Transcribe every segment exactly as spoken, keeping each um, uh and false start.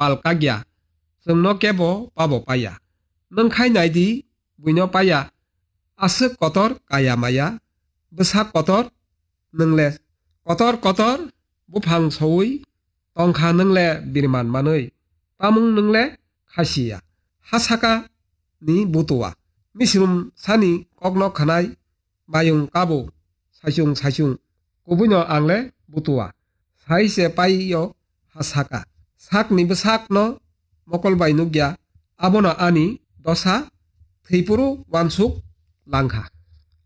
pal kakya, chwngno kebo pabo paiya. Nwng khai nai di, buino paiya, aswk kotor kaya maya, bwsak kotor nwng le kotor kotor buphang soui tongkha nwng le biriman manwi, tamung nwng le khasiya, ha saka ni butua, misrum sani kokno khanai, mayung kabo, saichung saichung, kubuino ang le butua, sai se pai yo ha saka. Sakni bwsakno mokol bai nukya, abono ani dosa thwiphuru uansuk langkha.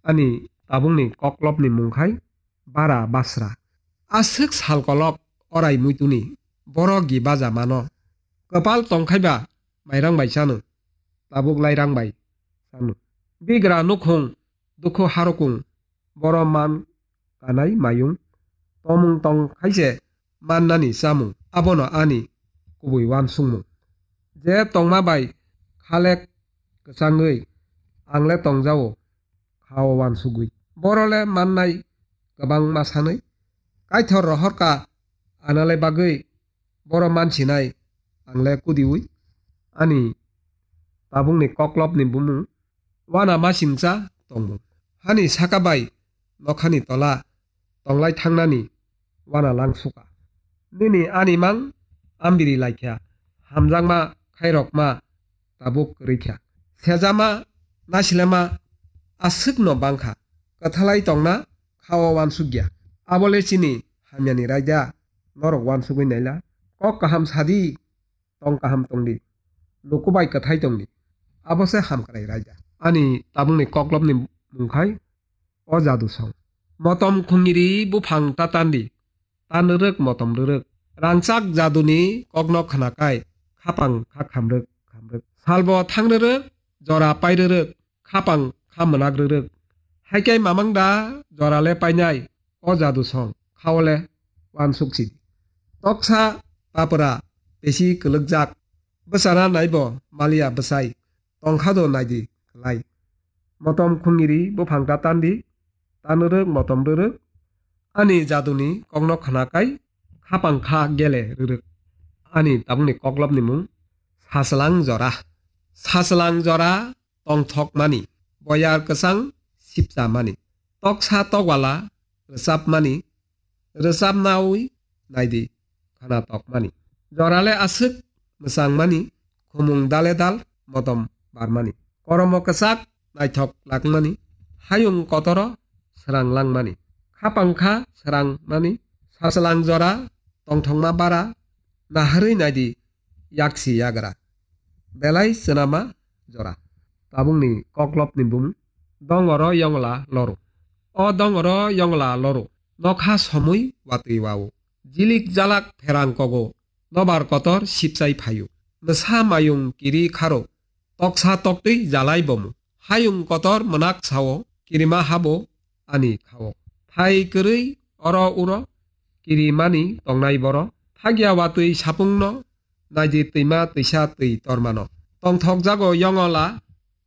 Ani tabukni koklopni mung khai Bara Basra. Aswk sal kolok orai muituni, borok gi baja mano. Kwpal tongkhaiba mairang bai chano, tabuk lairang bai chano. Bigra nukhung, dukhu harukung, boro man kanai mayung, tomung tong khaise mannani chamung, abono ani kubui uansukmung. Je tongma bai khalek kwchangwi ang le tongjao khao uansugwi. Boro le mannai kwbangma sanwi. Kaithor rohorka anale bagwi boro mansinai ang le kudiwi. Ani tabukni koklopni bumung wana masingcha tongmung. Hani saka bai nokhani tola tonglai thangnani wana langsuka. Nini ani mang ambiri laikha, hamjakma khairokma tabuk kwrwikha. Sejama nasilema aswkno bangkha, kwthalai tongna khao uansukya. Abole chini hamyani raida norok uansugwi naila. Kok kaham sadi, tong kaham tongdi, luku bai kwthai tongdi, abo se hamkrai raida. Ani tabukni koklopni mung khai o jadu song. Motom khungiri buphang ta tandi, tan rwrwk motom rwrwk. Rangchak jaduni kokno khnakai, khapang kha khamrwk khamrwk. Salbo thang rwrwk, jora pai rwrwk, khapang kha mwnak rwrwk. Haikai mamang da jora le painai, o jadu song, khao le uansuk sidi. Toksa papra pesi kwlwkjak, bwsana naibo maliya bwsai, tongkha do naidi kwlai. Motom khungiri buphang ta tandi, tan rwrwk motom rwrwk. Ani jaduni kokno khnakai, khapang kha gele rwrwk. Ani tabukni koklopni mung Sachwlang jora. Sachwlang jora tongthokmani, boyar kwchang sipchamani, toksa tokwala rwchapmani, rwchapnaui naidi khana tokmani. Jorale aswk mwchangmani, khumung dale dal motom barmani. Koromo kwchak naithok lakmani, hayung kotoro srang langmani. Khapang kha srang mani, sachwlang jora tongthokma bara, naharwi naidi yaksi yagra. Belai swnama jora. Tabukni koklopni bumung Dongoro Yongla Loru. O Dongoro Yongla Loru, nokha somwi watwi wao. Jilik jalak pherang kogo, nobar kotor sipchai phaio. Mwsa mayung kiri kharo, toksa toktwi jalai bomo. Hayung kotor mwnak sao, kirima habo ani khao. Thai kwrwi oro uro, kirimani tongnai boro. Thagya watwi sapungno, naidi twima twisa twi tormano. Tongthok jago yongola,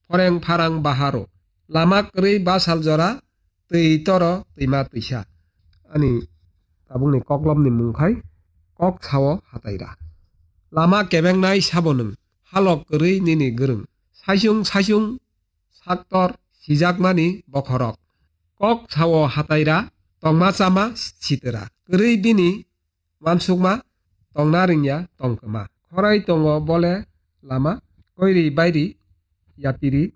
phoreng pharang baharo. Lama kwrwi basal jora, twi toro twima twisa. Ani tabukni koklopni mung khai kok sao hataira. Lama kebengnai sabo nwng, halok kwrwi nini gwrwng. Saichung saichung saktor sijakmani bokhorok. Kok sao hataira, tongma chama sitwra. Kwrwi bini uansukma, tongna ringya tongkwma. Khorai tongo bole lama, koiri bairi yapiri,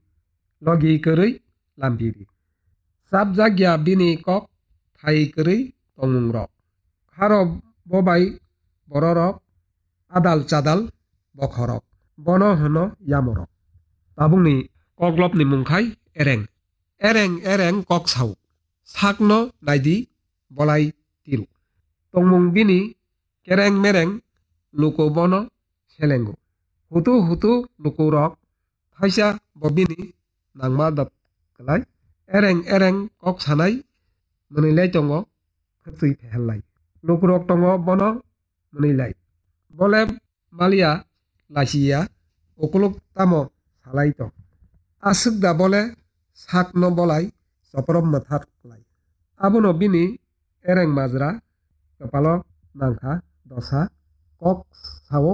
logi kwrwi lampiri. Chapjakya bini kok, thai kwrwi tongmungrok. Kharo bobai bororok, adal chadal bokhorok. Bono hwno yamorok. Tabukni koklopni mung khai ereng. Ereng ereng kok sao. Sakno naidi bolai tiru. Tongmung bini kereng mereng, luku bono selengo. Hutu hutu lukurok thaisa bo bini nangma dot kwlai. Ereng ereng kok sanai mwnwilai tongo khwtwi phehelnai. Lukurok tongo bono mwnwilai. Bole maliya lachiya ukuluk tamo salai tong. Aswk da bole sakno bolai choprom mwthar klai. Abono bini ereng majra kwpalo nangkha dosa, kok sao